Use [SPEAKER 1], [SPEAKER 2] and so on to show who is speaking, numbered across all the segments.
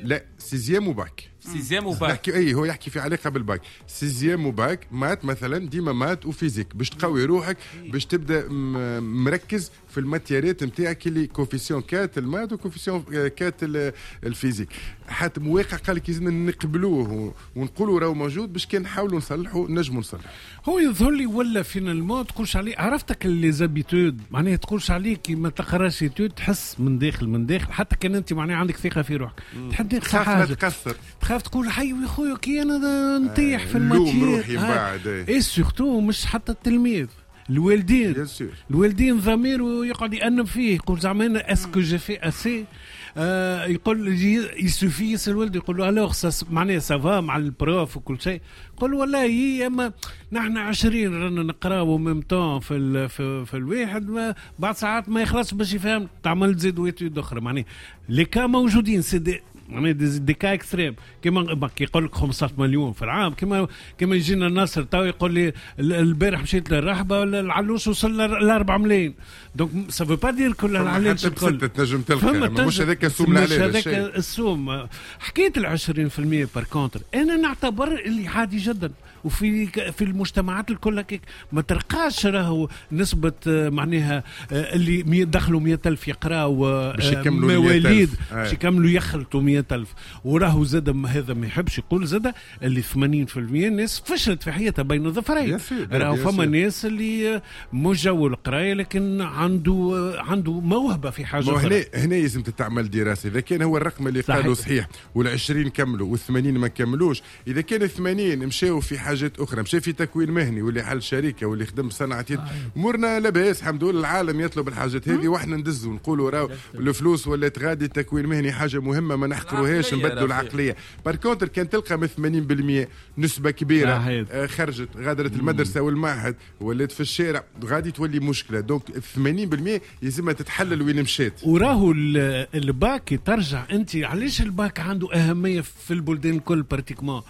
[SPEAKER 1] لا، sixième و bac.
[SPEAKER 2] sixième و bac.
[SPEAKER 1] نحكي، اي، هو يحكي في علاقة بال bac، sixième و bac، maths مثلا، ديما maths و physique باش تقوي روحك، باش تبدا مركز في ال matière ات نتاعك اللي coefficient 4 ال maths و coefficient 4 ال physique. حتى مواقع قال لك لازمنا نقبلوه ونقولوا راهو موجود، باش كان نحاولوا نصلحوا نجموا نصلحوا.
[SPEAKER 3] هو يظهر لي ولا finalement تقولش عليه، عرفتك les habitudes، معناها تقولش عليه كي ما تقراش étude تحس من داخل من داخل، حتى كان انت معناها عندك ثقة في روحك، تحب
[SPEAKER 1] تخاف
[SPEAKER 3] حاجة
[SPEAKER 1] تكسر.
[SPEAKER 3] تخاف تقول حي يا خويا كي انا نطيح في
[SPEAKER 1] نلوم
[SPEAKER 3] ال matière.
[SPEAKER 1] روحي من بعد، إيه.
[SPEAKER 3] et surtout مش حتى التلميذ، الوالدين.
[SPEAKER 1] bien sûr.
[SPEAKER 3] الوالدين ضمير ويقعد يأنب فيه، يقول زعما انا est-ce que j'ai fait assez؟ يقول il suffit يسال الولد، يقول له alors معناها ça va مع ال prof وكل شيء؟ يقول والله هي اما نحن 20 رانا نقراو même temps في الواحد ما بعد ساعات ما يخلصش باش يفهم، تعمل تزيد étude اخرى. معناها les cas موجودين، c'est des معناها des cas extrêmes، كيما كي يقول لك 15 مليون في العام، كيما يجينا الناصر تو يقول لي البارح مشيت للرحبه، العلوش وصل ل 4 ملايين، donc ça veut pas dire كل العلاج
[SPEAKER 1] الكل تنجم تلقى، مش هذاك السوم.
[SPEAKER 3] مش هذاك السوم. حكاية ال 20% par contre انا نعتبر اللي عادي جدا، وفي في المجتمعات الكل هكاك، ما تلقاش راهو نسبة معناها اللي دخلوا 100,000 يقراوا
[SPEAKER 1] باش يكملوا
[SPEAKER 3] مواليد باش يكملوا يخلطوا 100,000. وراهو زاد هذا ما يحبش يقول زاد اللي 80% الناس فشلت في حياتها بين ظفرين. راهو فما ناس اللي مش جو القراية لكن عنده موهبة في حاجة
[SPEAKER 1] أخرى. هنا لازم تتعمل دراسة، إذا كان هو الرقم اللي قالوا صحيح وال20 كملوا وال80 ما كملوش، إذا كان 80 مشاو في حاجات اخرى، مشى في تكوين مهني واللي حل شركة واللي خدم صنعه يد، امورنا لاباس الحمد لله. العالم يطلب الحاجات هذه واحنا ندزوا ونقولوا راهو الفلوس ولات غادي، التكوين المهني حاجة مهمه، ما نحقروهاش، نبدلوا العقليه. par contre كان تلقى من 80% نسبه كبيرة خرجت غادرت المدرسة والمعهد ولات في الشارع، غادي تولي مشكله. donc 80% يلزمها تتحلل وين مشات.
[SPEAKER 3] وراهو الباك ترجع انت، علاش الباك عنده اهمية في البلدان الكل pratiquement؟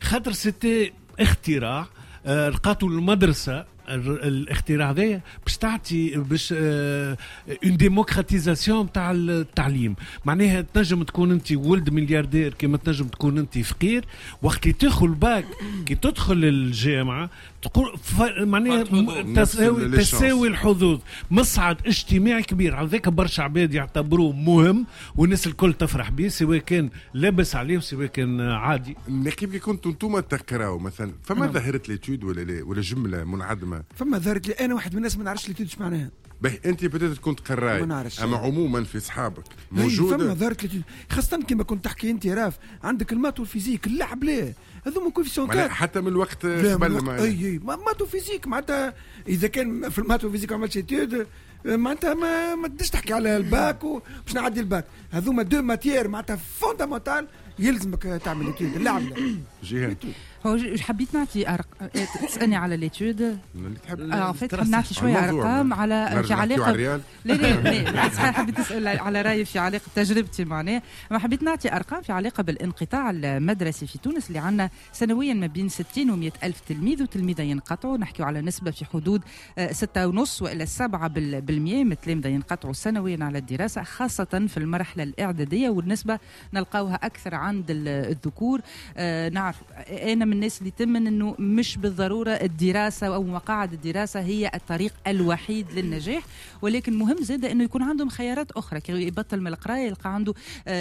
[SPEAKER 3] خاطر c'était اختراع لقاتو المدرسه، الاختراع هذايا باش تعطي باش une démocratisation تاع التعليم، معناها تنجم تكون انت ولد ملياردير كما تنجم تكون انت فقير. وقت اللي تدخل باك، كي تدخل الجامعة تقول معناها تساوي الحظوظ، مصعد اجتماعي كبير. على ذاك برشا عباد يعتبروه مهم والناس الكل تفرح به، سواء كان لابس عليه وسواء كان عادي.
[SPEAKER 1] نقيب، كي كنتوا انتم تقراو مثلا، فما ظاهره l'étude ولا لا ولا جملة منعدمه؟
[SPEAKER 4] فما ظاهره، انا واحد من الناس ما نعرفش l'étude ايش معناها.
[SPEAKER 1] باهي، انت peut-être كنت قراي.
[SPEAKER 4] ما نعرفش.
[SPEAKER 1] اما عموما في اصحابك موجوده؟
[SPEAKER 4] فما ظاهره l'étude، خاصة كما كنت تحكي انت راف، عندك ال maths وال physique، اللعب لا، هذوما coefficient
[SPEAKER 1] 4. حتى من الوقت قبل
[SPEAKER 4] ما اي، maths و physique، معناتها اذا كان في ال maths و physique ما عملتش étude معناتها ما تقدرش تحكي على الباك باش نعدي الباك. هذوما deux matières معناتها fondamentales، يلزمك تعمل étude، اللعب لا.
[SPEAKER 1] جيهان.
[SPEAKER 5] هو حبيت نعطي تسالني على l'étude؟
[SPEAKER 1] اللي تحب.
[SPEAKER 5] en fait حاب نعطي شوية ارقام على في علاقه، لا لا لا، صحيح، حبيت تسال على رايي في علاقة تجربتي معناها، ما حبيت نعطي ارقام في علاقة بالانقطاع المدرسي في تونس، اللي عندنا سنويا ما بين 60 و 100 الف تلميذ وتلميذه ينقطعوا. نحكيو على نسبه في حدود 6.5 والى 7% من التلامذه ينقطعوا سنويا على الدراسه، خاصة في المرحلة الاعداديه، والنسبه نلقاوها اكثر عند الذكور. نعرف انا من الناس اللي تمن انه مش بالضرورة الدراسة او مقاعد الدراسة هي الطريق الوحيد للنجاح، ولكن مهم زاد انه يكون عندهم خيارات اخرى، كي يبطل من القراية يلقى عنده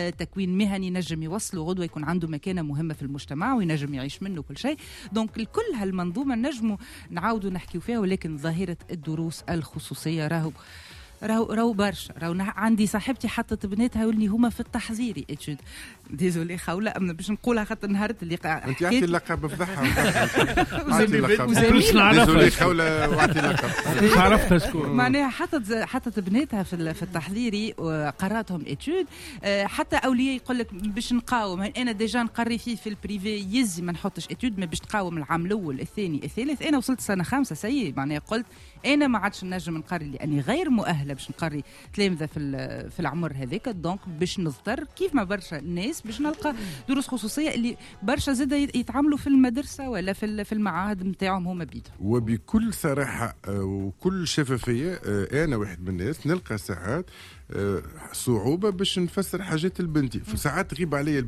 [SPEAKER 5] تكوين مهني نجم يوصله غدوه يكون عنده مكانه مهمة في المجتمع وينجم يعيش منه كل شيء. donc الكل هالمنظومه نجموا نعاودوا نحكيو فيها، ولكن ظاهره الدروس الخصوصية راهو برشا. راهو عندي صاحبتي حطت بناتها واللي هما في التحضيري étude، désolée خوله اما باش نقولها خاطر نهار اللي
[SPEAKER 1] انت اعطي اللقب، فضحها، اعطي اللقب، désolée خوله واعطي اللقب.
[SPEAKER 3] عرفتها شكون.
[SPEAKER 5] معناها حطت بناتها في التحضيري وقراتهم étude، حتى اولياء يقول لك باش نقاوم، انا déjà نقري فيه في ال privé يزي ما نحطش étude، ما باش تقاوم العام الاول الثاني الثالث. انا وصلت سنة خامسه، ça y est، معناها قلت انا ما عادش نجم نقري لاني غير مؤهلة باش نقري تلامذه في العمر هذاك، donc باش نضطر كيف ما برشا ناس باش نلقى دروس خصوصيه، اللي برشا زاد يتعاملوا في المدرسة ولا في المعاهد نتاعهم هما بيدهم.
[SPEAKER 1] وبكل صراحة وكل شفافيه، انا واحد من الناس نلقى ساعات صعوبة باش نفسر حاجات لبنتي، في ساعات تغيب عليا.